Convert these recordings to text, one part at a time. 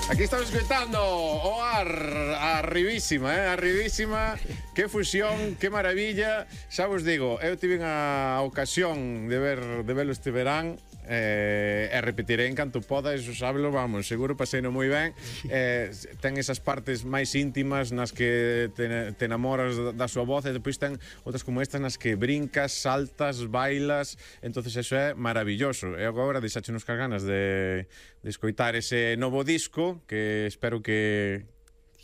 Aquí estamos escoitando o ar arribísima, arribísima. Que fusión, que maravilla. Xa vos digo, eu tive a ocasión de velo este verán. E repetirei en canto poda, eso sábelo, vamos, seguro paseino moi ben. Ten esas partes máis íntimas nas que te enamoras da súa voz, e depois ten outras como estas nas que brincas, saltas, bailas. Entonces eso é maravilloso. E agora deixáchenos cas ganas de escoitar ese novo disco, que espero que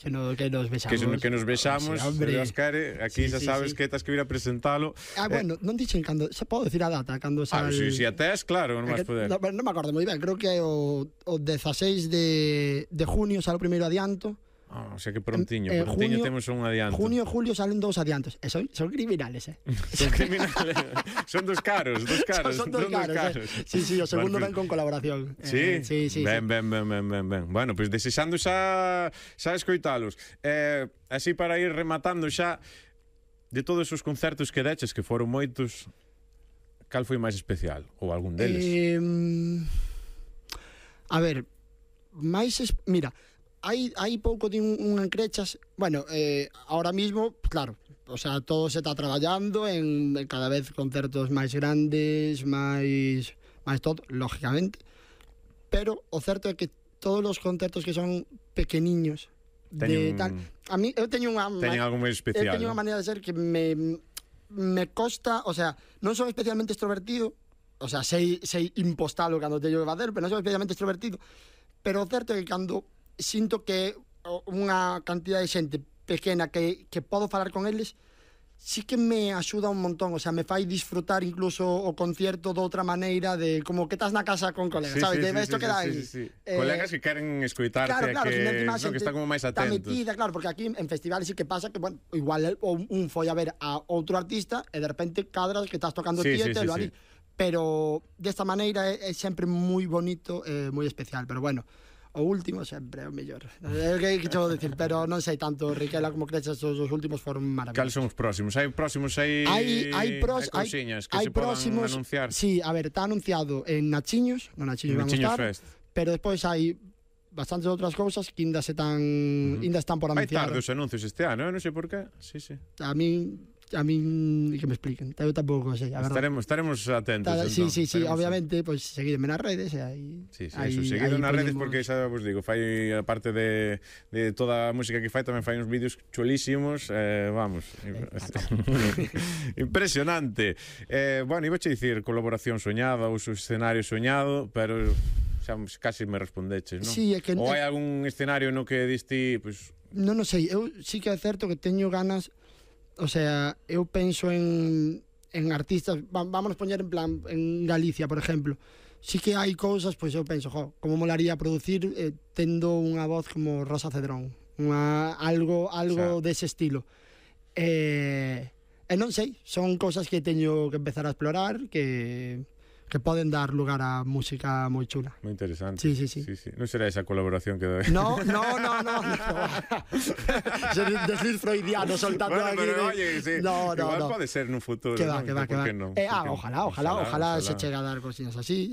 nos vexamos. Que nos vexamos, Dios quere. Aquí xa sabes que tens que vir a presentalo. Bueno, non dixen cando, xa podo decir a data, cando sal... Si a tes, claro, non vas poder. Non me acordo moi ben, creo que é o 16 de junio sale o primeiro adianto. O sea que prontiño temos un adianto. Junio e julio salen dous adiantos. E son criminales, Son criminales. Son dos caros. Son dos caros. Sí, o segundo ven con colaboración. Sí? Sí. Ben. Bueno, pois desexando xa escoitalos. Así para ir rematando xa, de todos os concertos que deches, que foron moitos, cal foi máis especial? Ou algún deles? A ver, mira, hai pouco de un encrechas. Bueno, ahora mismo, claro, o sea, todo se está traballando en cada vez concertos máis grandes, máis todo, lógicamente. Pero o certo é que todos os concertos que son pequeniños de tal, a mí eu teño algo moi especial. Eu teño unha maneira de ser que me costa, o sea, non son especialmente extrovertido, o sea, sei impostalo cando teño que facer, pero non son especialmente extrovertido. Pero o certo é que cando sinto que unha cantidad de xente pequena que podo falar con eles, sí que me axuda un montón, o sea, me fai disfrutar incluso o concierto de outra maneira, de como que estás na casa con colegas, sabes? Isto queda aí. Colegas que queren escoitarte, claro, que están como máis atentos. Está metida, claro, porque aquí en festivales sí que pasa que, bueno, igual un foi a ver a outro artista e de repente cadras que estás tocando ti e te lo ali. Pero desta maneira é sempre moi bonito, moi especial, pero bueno, o último sempre é o mellor. É o que vou decir, pero non sei tanto, Riquela, como creches, os últimos foron maravillosos. Cales son os próximos? Hai próximos, hai cousiñas que se podan anunciar? Sí, a ver, está anunciado en Nachiños, no Nachiños van a estar, pero despois hai bastantes outras cousas que ainda están por anunciar. Hai tarde os anuncios este ano, non sei por qué. Sí. A min que me expliquen, eu tampouco sei, a verdade. Estaremos atentos. Sí, obviamente, pois seguidme nas redes e aí. Sí, seguido nas redes, porque xa vos digo, fai aparte de toda a música que fai, tamén fai uns vídeos chulísimos, vamos. Impresionante. Bueno, iba a dicir colaboración soñada ou escenario soñado, pero xa casi me respondeches, non? Sí, é que ou hai algún escenario no que diste, pois non sei, eu sí que é certo que teño ganas. O sea, eu penso en artistas, vamos poñer en plan en Galicia, por exemplo. Sí que hai cousas, pois eu penso, como molaría producir tendo unha voz como Rosa Cedrón, algo dese estilo. E non sei, son cousas que teño que empezar a explorar, que poden dar lugar a música moi chula. Moi interesante. Sí. Non será esa colaboración que doi. No. Decir freudiano soltando aquí. Pero oye, sí. No. Pode ser nun futuro. Que va. Ojalá se chega a dar cosillas así.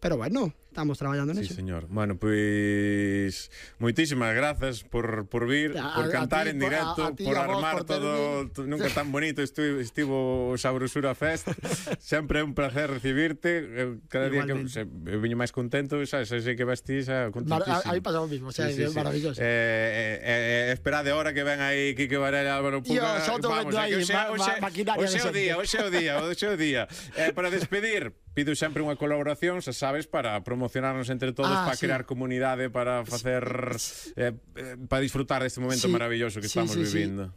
Pero bueno, estamos traballando en eso. Sí, señor. Bueno, pois moitísimas grazas por vir, por cantar en directo, por armar todo. Nunca tan bonito estivo o Sabrosura Fest. Sempre é un placer recibirte. Cada día que viño máis contento, sabes, sei que vestís contentísimo. Aí pasa o mismo, o sea, é maravilloso. Esperade ahora que ven aí Quique Varela, Álvaro Puga. Vamos, hoxe é o día. Para despedir, pido sempre unha colaboración, xa sabes, para promocionarnos entre todos, para crear comunidade, para facer para disfrutar deste momento maravilloso que estamos vivindo.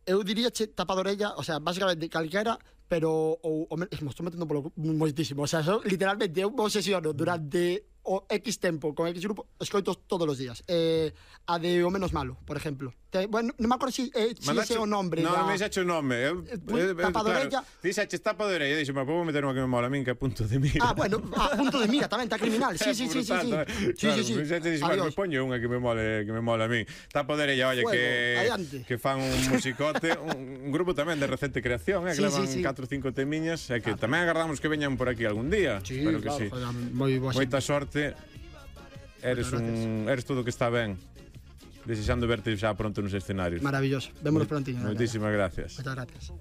Eu diría tapa de orella, o sea, básicamente calquera, pero me estou metendo polo moitísimo, o sea, literalmente eu me obsesiono durante o X tempo con X grupo, escoito todos os días. A de O Menos Malo, por exemplo. Bueno, non me acordo se ese o nombre. Non, me xacho o nome. Tapa de orella. Dixaches tapa de orella, dixo, me podo meter unha que me mola a min, que é Punto de Mira. Bueno, Punto de Mira tamén, está criminal. Sí. Sí. Me poño unha que me mola a min. Tapa de orella, oye, que fan un musicote, un grupo tamén de recente creación, que levan 4 ou 5 temiñas, e que tamén agardamos que veñan por aquí algún día. Sí, claro, moita sorte. Eres todo o que está ben. Desexando verte xa pronto nos escenarios. Maravilloso. Vémonos prontinho. Moitísimas gracias. Muchas gracias.